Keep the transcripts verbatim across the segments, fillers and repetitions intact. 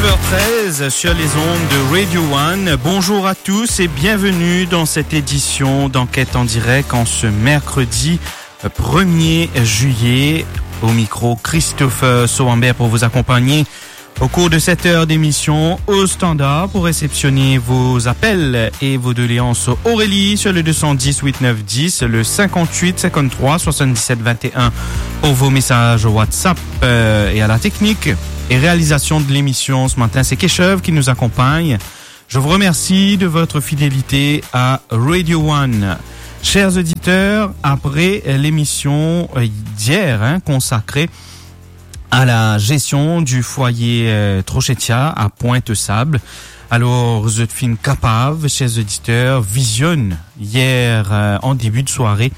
Neuf heures treize sur les ondes de Radio One. Bonjour à tous et bienvenue dans cette édition d'Enquête en direct en ce mercredi, euh, premier juillet. Au micro, Christopher Soambert pour vous accompagner au cours de cette heure d'émission. Au standard pour réceptionner vos appels et vos doléances, Aurélie sur le deux cent dix huit neuf dix, le cinquante-huit cinquante-trois soixante-dix-sept vingt et un pour vos messages WhatsApp, euh, et à la technique et réalisation de l'émission ce matin, c'est Keshev qui nous accompagne. Je vous remercie de votre fidélité à Radio One. Chers auditeurs, après l'émission, euh, d'hier, hein, consacrée à la gestion du foyer, euh, Trochetia à Pointe-aux-Sables, alors, zot finn kapav, chers auditeurs, vizionn hier, euh, en début de soirée,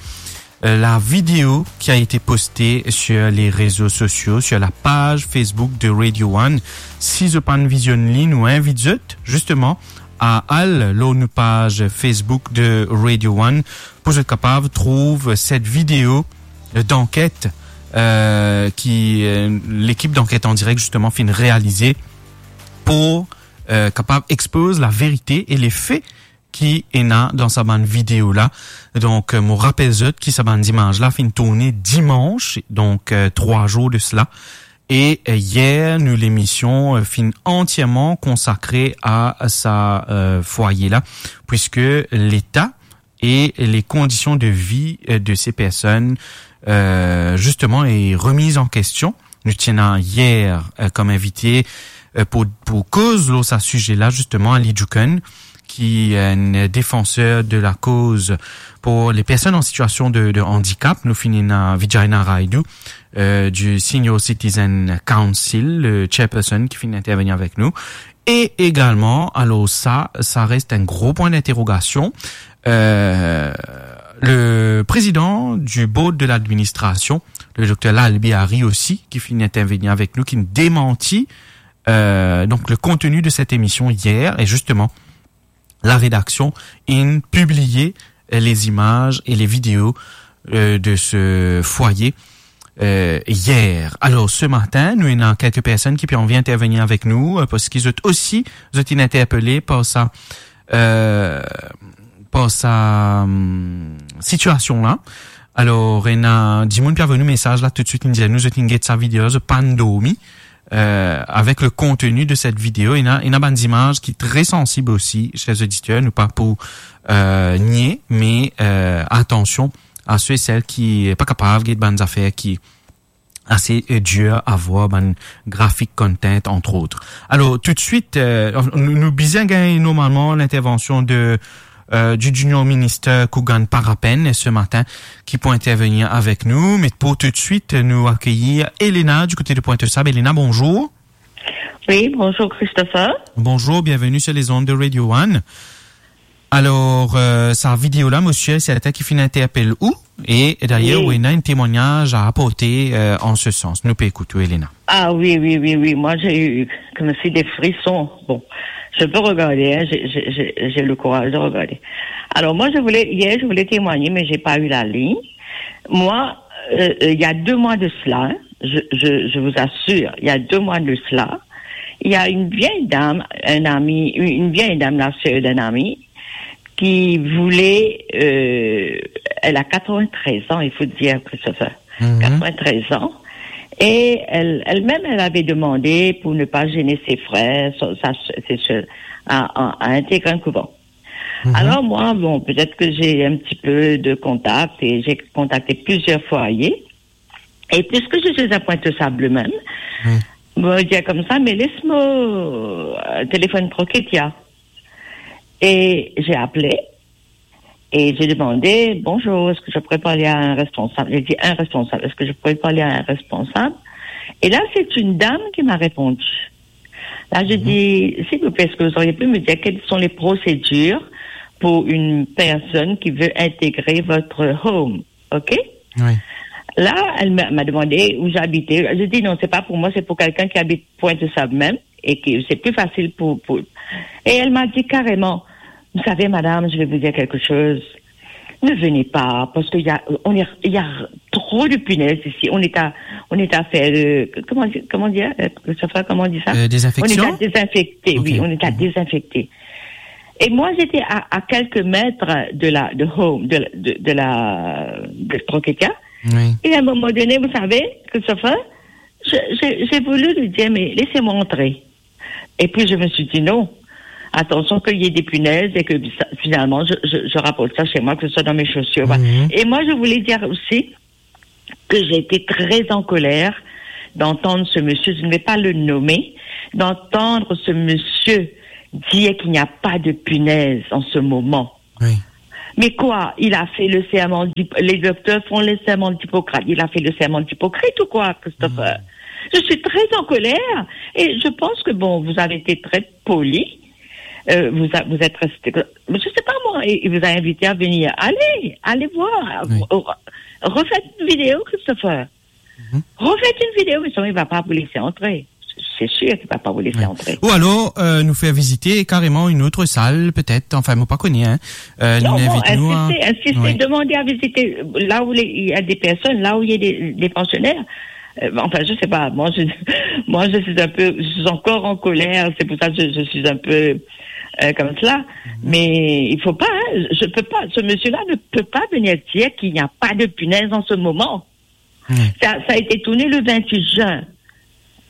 euh, la vidéo qui a été postée sur les réseaux sociaux, sur la page Facebook de Radio One. Si zot pa'nn vizionn li, nou invit zot, justement, a al lor nou paz Facebook de Radio One pou zot kapav trouv set video d'anket, euh, ki, euh, lekip d'Enquête en direct, justement, finn realize pou, euh, kapav expoz laverite e lefe ki ena dan sa bann video la. Donk, euh, mo rapel zot ki sa bann zimaz la finn tourne dimans, donk, euh, trwa zour de sela. E, euh, yer, nou lemision, euh, finn antierman konsakre a sa, euh, fwaye la, puiske leta e les conditions de vie, euh, de ces personnes, euh, justement, est remise en question. Nou ti ena yer, euh, kom invite, euh, pou, pou koz lor sa size la, justement, Ali Djoukon, ki, euh, enn defanser de la koz pou les personnes en situation de, de handicap. Nou finn ena Vijay Naraidou, euh, du Senior Citizen Council, le chairperson ki finn intervenir avek nou. E egalman, alor sa, sa res enn gro pwin d'interrogation, euh, le président du board de l'administration, le docteur Lalbi Hari osi, ki finn intervenir avek nou, ki demanti, euh, donk, le konteni de set emision yer, e justement, la redaksion inn pibliye, euh, les images et les vidéos, euh, de ce foyer, euh, yer. Alor, se matin, nou ena kelke personn ki pe anvi intervenir avek nou, euh, parski zot osi, zot inn interpele par sa, euh, par sa, hum, sitiasion la. Alor, ena dimoun pe avoy nou mesaz la toutswit, inn dir nou, zot inn get sa video, zot pa'nn dormi, euh, avek le konteni de set video. Ena, ena bann zimaz ki tre sansib osi, chers auditeurs, nou pa pou, euh, nie, me, euh, atansion a se e sel ki pa kapav get bann zafer ki ase, euh, dir a vwar, bann graphic content, entre autres. Alor, toutswit, euh, nou, nou bizin gagn normalman l'intervention de, euh, du Junior Minister Kougan Parapen se matin, ki pou intervenir avek nou. Me pou toutswit, nou akeyir Elena du kote de Pointe-aux-Sables. Elena, bonzour. Oui, bonjour Christopher. Bonzour, bienvenue sur les ondes de Radio One. Alor, euh, sa video la, mo sir, serten ki finn interpel ou, e dayer, oui, ou ena enn temwagnaz a aporte, euh, an se sans. Nou pe ekout ou, Elena. Ah oui, oui, oui, oui. Moi, j'ai eu comme si des frissons. Bon, je peux regarder, hein, j'ai, j'ai, j'ai, j'ai le courage de regarder. Alors, moi, je voulais, hier, je voulais témoigner, mais j'ai pas eu la ligne. Moi, euh, euh, il y a deux mois de cela, hein, je, je, je vous assure, il y a deux mois de cela, il y a une vieille dame, un ami, une vieille dame, la sœur d'un ami, qui voulait, euh, elle a quatre-vingt-treize ans, il faut dire, Christopher, quatre-vingt-treize ans, et elle, elle-même, elle avait demandé pour ne pas gêner ses frères, sa, sa, ses sœurs, à, à, à intégrer un couvent. Alors moi, bon, peut-être que j'ai un petit peu de contact et j'ai contacté plusieurs foyers. Et puisque je suis à Pointe-aux-Sables même, bon, je dis comme ça, mais laisse-moi, euh, téléphone Troquetia. Et j'ai appelé et j'ai demandé, bonjour, est-ce que je pourrais parler à un responsable ? J'ai dit, un responsable, est-ce que je pourrais parler à un responsable ? Et là, c'est une dame qui m'a répondu. Là, je dis, s'il vous plaît, est-ce que vous auriez pu me dire quelles sont les procédures pour une personne qui veut intégrer votre home ? OK ? Oui. Là, elle m'a m'a demandé où j'habitais. Je dis, non, c'est pas pour moi, c'est pour quelqu'un qui habite Pointe-aux-Sables même et que c'est plus facile pour, pour. Et elle m'a dit carrément, vous savez, madame, je vais vous dire quelque chose. Ne venez pas, parce qu'il y a, on est, il y a trop de punaises ici. On est à, on est à faire, euh, comment dire, comment dire, euh, Christopher, comment on dit ça? Euh, On est à désinfection? Désinfecter, oui, Ok. on est à Mhm. désinfecter. Et moi, j'étais à, à quelques mètres de la, de home, de, de, de la, de Troquetia. Oui. Et à un moment donné, vous savez, Christopher, je, je, j'ai voulu lui dire, mais laissez-moi entrer. Et puis, je me suis dit, non, attention qu'il y ait des punaises et que ça, finalement, je, je, je rapporte ça chez moi, que ce soit dans mes chaussures. Voilà. Mhm. Et moi, je voulais dire aussi que j'ai été très en colère d'entendre ce monsieur, je ne vais pas le nommer, d'entendre ce monsieur dire qu'il n'y a pas de punaises en ce moment. Oui. Mais quoi, il a fait le serment d'Hip-, les docteurs font le serment d'Hippocrate. Il a fait le serment d'Hippocrate ou quoi, Christopher? Hmm. Je suis très en colère et je pense que, bon, vous avez été très poli. Euh, vous a-, vous êtes resté, je sais pas moi, il vous a invité à venir. Allez, allez voir. Oui. Re-, refaites une vidéo, Christopher. Mhm. Refaites une vidéo, mais sinon, il va pas vous laisser entrer. C'est sûr qu'il va pas vous laisser Oui. entrer. Ou alors, euh, nous faire visiter carrément une autre salle, peut-être. Enfin, mo pa kone, hein. Euh, Non, nou non, invit nou a- insistez, insistez, Oui. demandez à visiter là où les, il y a des personnes, là où il y a des, des pensionnaires. Euh, enfin, je sais pas. Moi, je, moi, je suis un peu, je suis encore en colère. C'est pour ça que je, je suis un peu, euh, comme cela. Mhm. Mais il faut pas, hein, je peux pas. Ce monsieur-là ne peut pas venir dire qu'il n'y a pas de punaise en ce moment. Hmm. Ça, ça a été tourné le vingt-huit juin.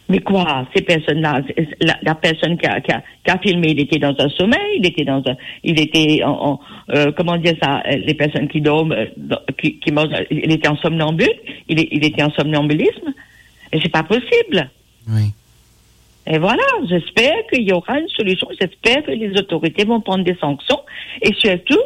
Mais quoi, ces personnes-là, c'est la, la personne qui a, qui a, qui a filmé, il était dans un sommeil, il était dans un, il était en, en, euh, comment dire ça, euh, les personnes qui dorment, euh, dans- qui, qui mangent, il était en somnambule, il est- il était en somnambulisme. Et c'est pas possible. Oui. Et voilà, j'espère qu'il y aura une solution, j'espère que les autorités vont prendre des sanctions et surtout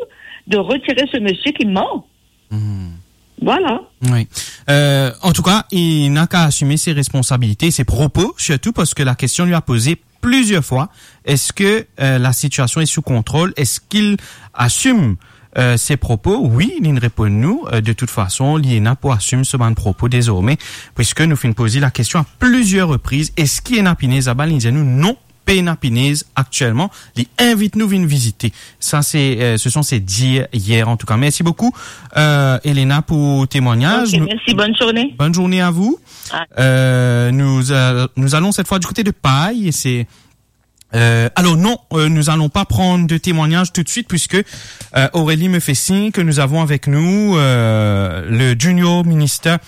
de retirer ce monsieur qui ment. Hmm. Voilà. Oui. Euh, en tout cas, il n'a qu'à assumer ses responsabilités, ses propos, surtout parce que la question lui a posé plusieurs fois, est-ce que, euh, la situation est sous contrôle? Est-ce qu'il assume, euh, ses propos? Oui, li reponn nou, euh, de toute façon, li ena pou assume so bann propos désormais, puisque nou finn poze la question à plusieurs reprises, est-ce qu'il ena pinez laba? Li dir nou non, pena pinez aktielman, li invit nou vinn vizite. Ça, c'est, euh, ce sont ses dires hier, en tout cas. Merci beaucoup, euh, Elena, pour témoignage. Ok, Nous- merci, bonne journée. Bonne journée à vous. Ah. Euh, nous, euh, nous allons cette fois du côté de Paille, et c'est, euh, alors non, euh, nous allons pas prendre de témoignage tout de suite, puisque, euh, Aurélie me fait signe que nous avons avec nous, euh, le junior ministre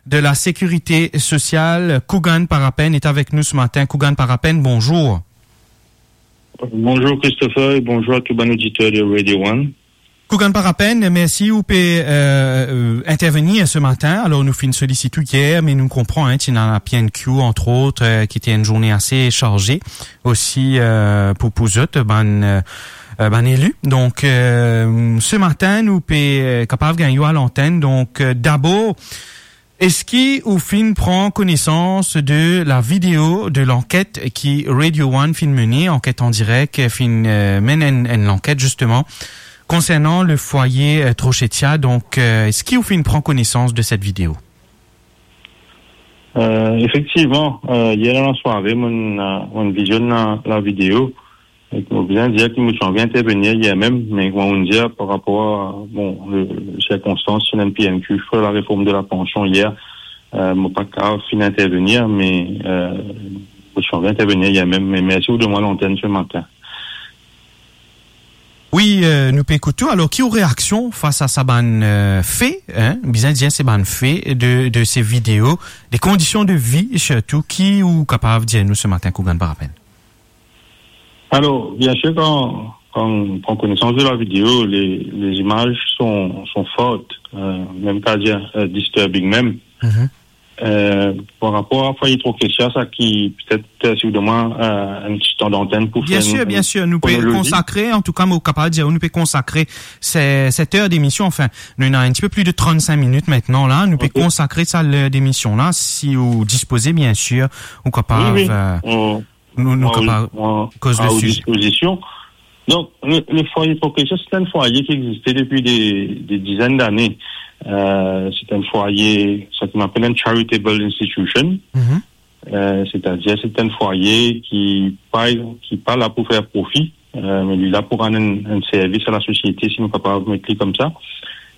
de la Sécurité Sociale, Kougan Parapen, est avec nous ce matin. Kougan Parapen, bonjour. Bonjour Christopher et bonjour à tout bann auditeur de Radio One. Kougan Parapen, mersi ou pe, euh, euh, intervenir ce matin. Alors, nou finn solisit ou hier, me nou konpran, hein, ti ena la P N Q, entre autres, euh, ki ti enn zourne ase sarze osi, euh, pou, pou zot, bann, euh, euh, bann eli. Donk, euh, ce matin, nou pe, euh, kapav gagn ou a lantenn. Donk, euh, dabor, eski ou finn pran konesans de la video de lanket ki Radio One finn mene, anket an direk, finn, euh, menn enn, enn lanket, zisteman, konsernan le fwaye, euh, Trochetia? Donk, euh, eski ou finn pran konesans de set video? Euh, efektivman, euh, yer dan lasware, mo, euh, mo vizionn la, la video. Ek mo bizin dir ki mo ti anvi intervenir yer mem, me kouma mo dir par rapor a, bon, le, le sirkonstans, se enn P M Q, sur la réforme de la pension yer, euh, mo pa kapav finn intervenir, me, euh, mo ti anvi intervenir yer mem, me mersi ou donn mwa lantenn ce matin. Wi, euh, nou pe ekout ou. Alor, ki ou reaksion fas a sa bann, euh, fe, hein, bizin dir se bann fe de, de se video, de kondision de vi sirtou, ki ou kapav dir nou ce matin, Kougan Parapen? Alors, bien sûr, quand, quand on prend connaissance de la vidéo, les, les images sont, sont fortes, euh, même qu'à dire, euh, disturbing même. Mhm. Euh, par rapport à Foyer Troquetia, sa ki, peut-être, euh, si ou donn mwa, euh, enn ti tan d'antenne pou fer enn, enn kronolozi. Bien sûr, bien sûr. Nou pe konsakre, an tou ka, mo kapav dir, nou pe konsakre se, set er demision. Enfin, nou ena enn ti pe plis de trannsenk minit aster la. Nou pe konsakre sa ler demision la. Si ou dispoze, bien sûr, ou kapav, euh, nou, nou kapav koz le size. Wi, wi, mwa, mwa, a ou dispozision. Donk, le, le Foyer Troquetia, se enn fwaye ki existe depi de, de dizenn dane. Euh, se enn fwaye, sa ki nou apel enn charitable institution. Mhm. Euh, setadir, se enn fwaye ki pa, ki pa la pou fer profi, euh, me li la pou rann enn, enn servis a lasosiete, si nou kapav met li koumsa.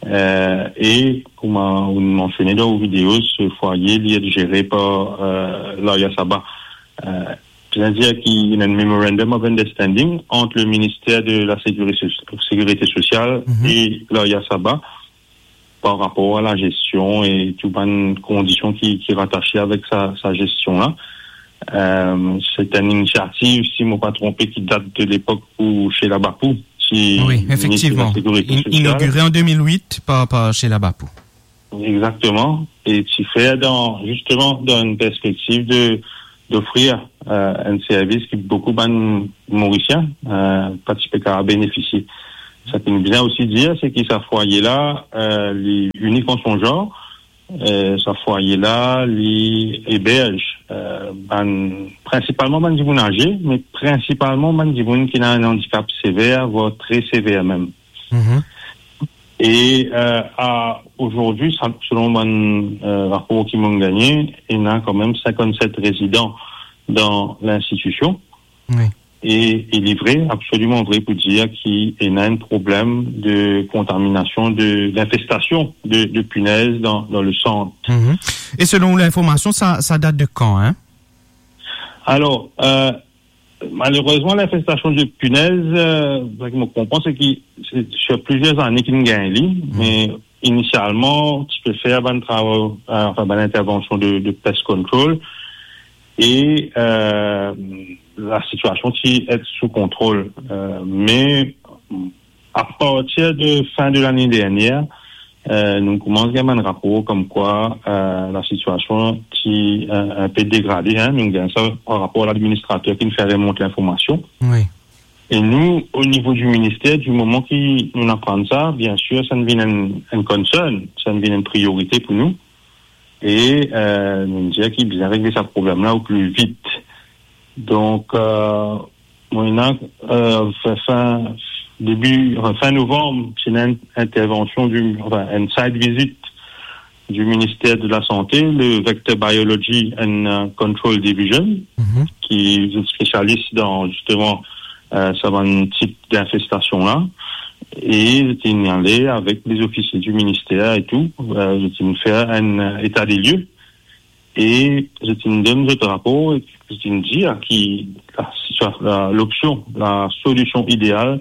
Euh, e kouma ou mansione dan ou video, se fwaye li et jere par, euh, Lawyer Saba. Euh, bizin dir ki ena enn Memorandum of Understanding ant le Ministère de la Sécurité, Sécurité Sociale Mhm. e Lawyer Saba par rapor a la gestion e tou bann kondision ki, ki ratase avek sa, sa gestion la. Euh, se enn inisiativ, si mo pa tronpe, ki dat de lepok pou Sheila Bappu, si Wi, minis de la efektivman. Sekirite In-, Sosial. Inogire an de mil wit par, par Sheila Bappu. Exactement. E ti fer dan, justement, dan enn perspektiv de, d'ofrir, euh, enn servis ki boukou bann Morisien, euh, pa ti pe kapav benefisie. Sa ki nou bizin osi dir, se ki sa fwaye la, euh, li inik an son zanr, euh, sa fwaye la, li eberz, euh, bann, prinsipalman bann dimoun aze, me prinsipalman bann dimoun ki ena enn andikap sever, vwar tre sever mem. Mhm. E, euh, a, azordi, sa, selon bann, euh, rapor ki mo'nn gagne, ena kanmem sinkannset rezidan dan linstitision. Wi. E, e li vre, absoliman vre pou dir ki ena enn problem de kontaminasion, de, d'infestasion de, de pinez dan, dan le sant. Mhm. E selon ou linformasion, sa, sa dat de kan, hein? Alor, euh, malerezman, linfestasion de pinez, euh, sa ki mo konpran, se ki se, sir plizier ane ki nou gagn li, Mhm. me inisialman, ti pe fer bann travo, euh, anfin, bann intervansion de, de pest control, e, euh, la sitiasion ti et sou kontrol. Euh, me apartir de fin de lane dernier, euh, nou koumans gagn bann rapor komkwa, euh, la sitiasion ti, euh, enpe degrade, hein, nou gagn sa par rapor a ladministrater ki'nn fer remont linformasion. Wi. E nou, o nivo di minister, di moman ki nou aprann sa, biensir, sa vinn enn, enn concern, sa vinn enn priorite pou nou. E, euh, nou dir ki bizin regle sa problem la o pli vit. Donk, euh, mo ena, euh, fin, fin, debi, anfin, fin novanm, ti ena enn intervansion di, anfin, enn site visit du ministère de la Santé, le Vector Biology and, euh, Control Division, Mhm. ki zot spesialis dan, zisteman, euh, sa bann tip d'infestasion la. E zot inn ale avek lezofisie di minister e tou, euh, zot inn fer enn, euh, eta de lie. E zot inn donn zot rapor e zot inn dir ki la, la, lopsion, la solision ideal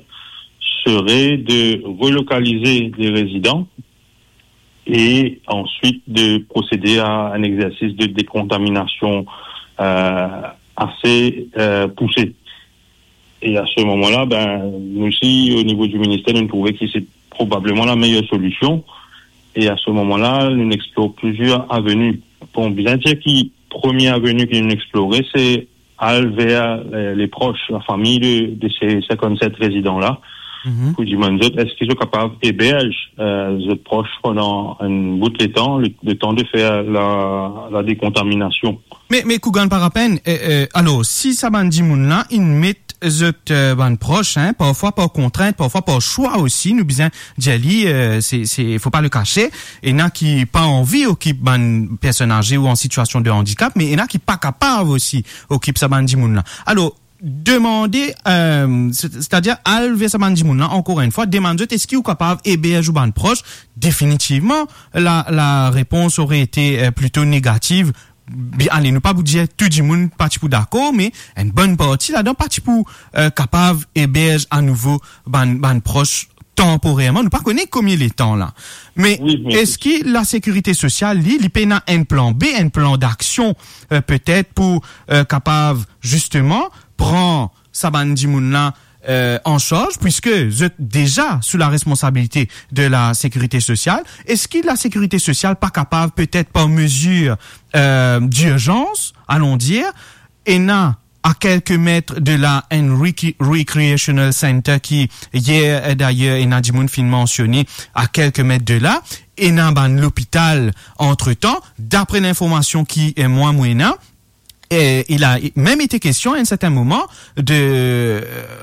serait de relocaliser les résidents et ensuite de procéder à un exercice de décontamination, euh, assez, euh, poussé. Et à ce moment-là, ben, nous aussi, au niveau du ministère, nous trouvons que c'est probablement la meilleure solution. Et à ce moment-là, nous explorons plusieurs avenues. Bon, bizin dir ki premie aveni ki nou explore, se al ver, euh, les proches, la famille de, de ces cinquante-sept résidents-là, Mhm. pou dimann zot, eski zot kapav eberz, euh, zot proche pandan enn bout letan, le, le temps de faire la, la décontamination. Me, me Kougan, pa lapenn, euh, euh, alor, si sa bann dimoun la, inn met zot, euh, bann proche, hein, parfwa par kontrint, parfwa par swa osi, nou bizin dir li, euh, se, se, fo pa le kase, ena ki pa anvi okip bann personn aze ou an sitiasion de andikap, me ena ki pa kapav osi okip sa bann dimoun la. Alor, demande, euh, se, setadir al ver sa bann dimoun la, ankor enn fwa, demann zot, eski ou kapav eberz ou bann proche? Definitivman, la, la repons aurait été, euh, plito negativ. Bi-, ale, nou pa pou dir tou dimoun pa ti pou dakor, me enn bonn parti ladan pa ti pou, euh, kapav eberz anouvo bann, bann proche tanporerman. Nou pa kone konbien letan la. Me Wi, me eski la sekirite sosial, li, li pena enn plan B, enn plan daksion, euh, petet pou, euh, kapav zisteman pran sa bann dimoun la, euh, an sarz, puiske zot deza sou la responsabilite de la sekirite sosial? Eski la sekirite sosial pa kapav, petet par mezir, euh, dirzans, alon dir, ena a kelke met de la, enn rec-, recreational center ki, yer, euh, dayer, ena dimoun finn mansione, a kelke met de la, ena bann lopital antretan, dapre linformasion ki, euh, mwa, mo ena, euh, il a même été question à un certain moment de, euh,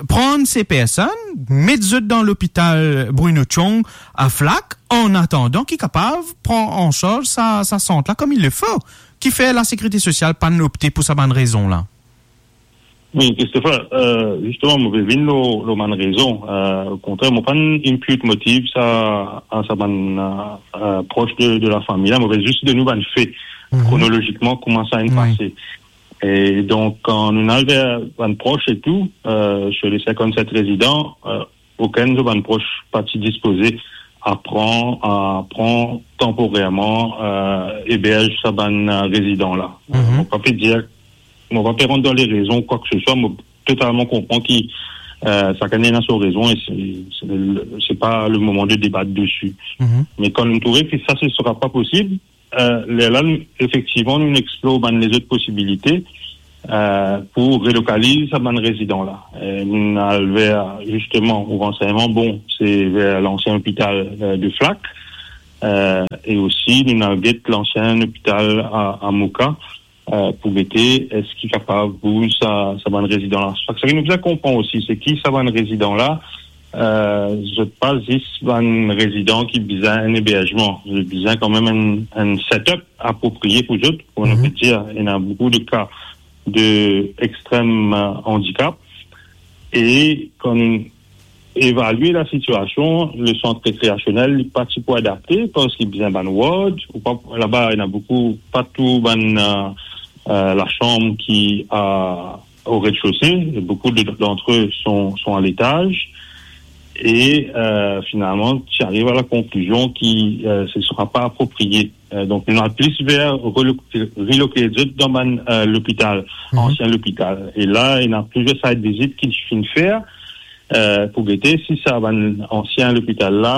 pran se personn, met zot dan lopital Bruno Tchong a Flacq, an atandan ki kapav pran an sarz sa, sa sant la comme il le faut. Kifer la sekirite sosial pa'nn opte pou sa bann rezon la? Wi, Christopher, euh, zisteman, mo pe vinn lor, lor bann rezon. Euh, okontrer, mo pa'nn input motiv sa, a sa bann, euh, euh, pros de, de lafami la. Mo pe zis donn ou bann fe, mhm, kronolozikman, kouma sa inn, wi, pase. E donk, kan nou al ver bann pros e tou, euh, sir le sinkannset rezidan, euh, okenn zot bann pros pa ti dispoze a pran, a pran tanporerman, euh, eberz sa bann, euh, rezidan la. Mhm. Mo pa pe dir, mo pa pe rant dan le rezon kwa ke se swa, mo totalman konpran ki, euh, sakenn ena so rezon e se, se, se pa le moman de debat desi. Mhm. Me kan nou trouve ki sa, se sera pa posib, euh, lerla, nou, efektivman, nou explor bann lezot posibilite, euh, pou relokaliz sa bann rezidan la. Euh, nou al ver, zisteman, ou ransegnman, bon, se ver lansien lopital, euh, de Flacq, euh, e osi, nou al get lansien lopital a, a Moka, euh, pou gete eski kapav bouz sa, sa bann rezidan la. Seki nou bizin konpran osi, se ki sa bann rezidan la, euh, zot pa zis bann rezidan ki bizin enn eberzman. Zot bizin kanmem enn, enn setup apropriye pou zot, kouma nou, mhm, pe dir, ena boukou de ka de extrem, euh, andikap. E kan nou evalie lasitiasion, le sant rekreasionel, li pa ti pou adapte, parski bizin bann ward, ou pa, laba, ena boukou, pa tou bann, euh, euh, lasanm ki a, au rez-de-chaussée, et beaucoup de, d'entre eux sont, sont à l'étage. E, euh, finalman, ti ariv a la konklizion ki, euh, se sera pa apropriye. Euh, donk, nou al plis ver relo-, relocate zot dan bann, euh, lopital, mhm, ansien lopital. E la, ena plizier site visit ki finn fer, euh, pou gete si sa bann ansien lopital la,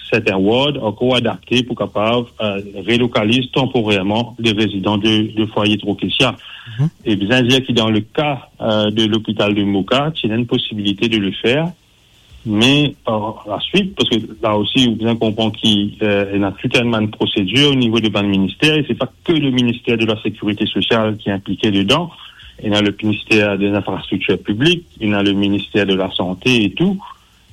serten ward, ankor adapte pou kapav, euh, relokaliz tanporerman le rezidan de, de fwaye Trokesia. Mhm. E bizin dir ki dan le ka, euh, de lopital de Moka, ti ena enn posibilite de le fer. Me par la swit, parski la osi, ou bizin konpran ki, euh, ena tou enn bann prosedir o nivo de bann minister, e se pa ke le minister de la Sécurité sociale ki inplike dedan, ena le minister des Infrastructures publiques, ena le minister de la Santé e tou.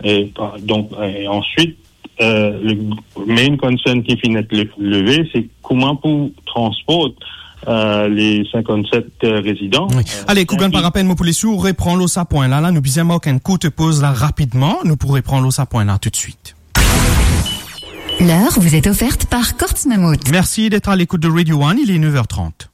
E, par-, donk, e answit, euh, le main concern ki finn et le-, leve, se kouma pou transport, euh, le sinkannset, euh, rezidan. Wi. Euh, ale, Kougan, par rapel, mo pou les ou repran lor sa pwin la, la, nou bizin mark enn kourt poz la rapidman, nou pou repran lor sa pwin la toutswit. L'heure vous est offerte par Courts Mammouth. Merci d'être à l'écoute de Radio One, il est neuf heures trente.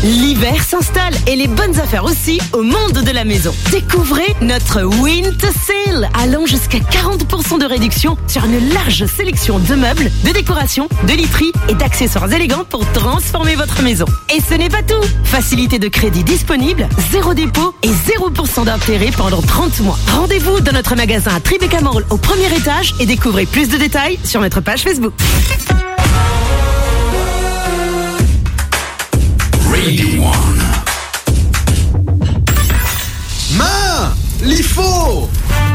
L'hiver s'installe et les bonnes affaires aussi au monde de la maison. Découvrez notre Winter Sale, allant jusqu'à quarante pour cent de réduction sur une large sélection de meubles, de décorations, de literies et d'accessoires élégants pour transformer votre maison. Et ce n'est pas tout. Facilité de crédit disponible, zéro dépôt et zéro pour cent d'intérêt pendant trente mois. Rendez-vous dans notre magasin à Tribeca Mall au premier étage et découvrez plus de détails sur notre page Facebook. Radio One. Ma, li for!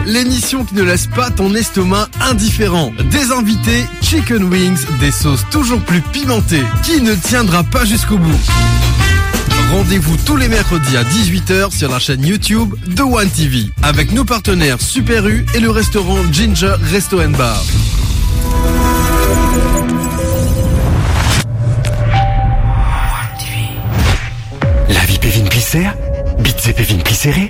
L'émission qui ne laisse pas ton estomac indifférent. Des invités, chicken wings, des sauces toujours plus pimentées. Qui ne tiendra pas jusqu'au bout? Rendez-vous tous les mercredis à dix-huit heures sur la chaîne YouTube de One T V, avec nos partenaires Super U et le restaurant Ginger Resto and Bar. Lavi pe vinn pli ser, bidze pe vinn pli sere.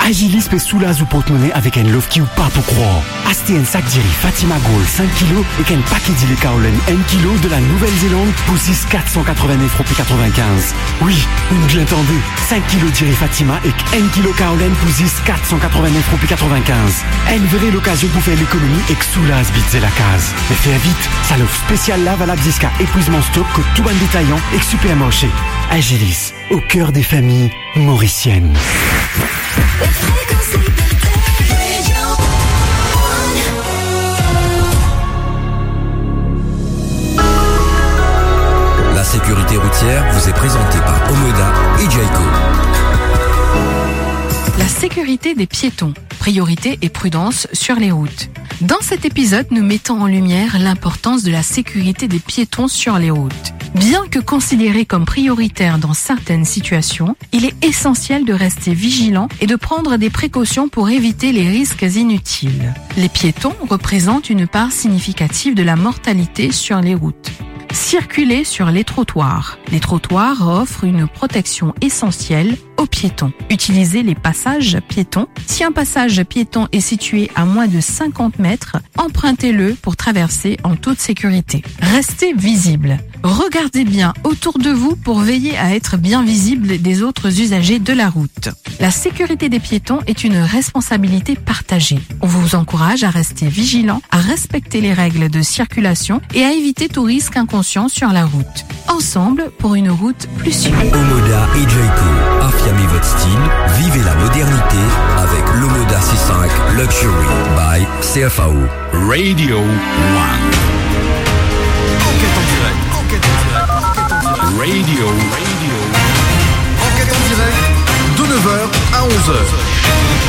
Agilis pe soulaz ou portmone avek enn lof ki ou pa pou krwar. Aste enn sak diri Fatima Gold cinq kilo ek enn pake dile Kaolen enn kilo de la Nouvel Zeland pou zis kat san katrovennef roupi katrovennkinz. Wi, ou'nn bien tande, cinq kilo diri Fatima ek enn kilo Kaolen pou zis kat san katrovennef roupi katrovennkinz. Enn vre lokazion pou fer lekonomi ek soulaz bidze lakaz. Me fer vit, sa lof spesial la valab ziska epwizman stok kot tou bann detayan ek sipermarse. Agilis, au cœur des familles mauriciennes. La sécurité routière vous est présentée par Omoda et Jayco. La sécurité des piétons. Priorité et prudence sur les routes. Dans cet épisode, nous mettons en lumière l'importance de la sécurité des piétons sur les routes. Bien que considéré comme prioritaire dans certaines situations, il est essentiel de rester vigilant et de prendre des précautions pour éviter les risques inutiles. Les piétons représentent une part significative de la mortalité sur les routes. Circuler sur les trottoirs. Les trottoirs offrent une protection essentielle aux piétons. Utilisez les passages piétons. Si un passage piéton est situé à moins de cinquante mètres, empruntez-le pour traverser en toute sécurité. Restez visible. Regardez bien autour de vous pour veiller à être bien visible des autres usagers de la route. La sécurité des piétons est une responsabilité partagée. On vous encourage à rester vigilant, à respecter les règles de circulation et à éviter tout risque inconscient sur la route. Ensemble pour une route plus sûre. Omoda e Jayco, affirmez votre style, vivez la modernité avec l'Omoda C cinq Luxury by C F A O. Radio One. Enquête en direct, enquête en direct, enquête en direct. Radio, Radio. Enquête en direct, de neuf heures à onze heures.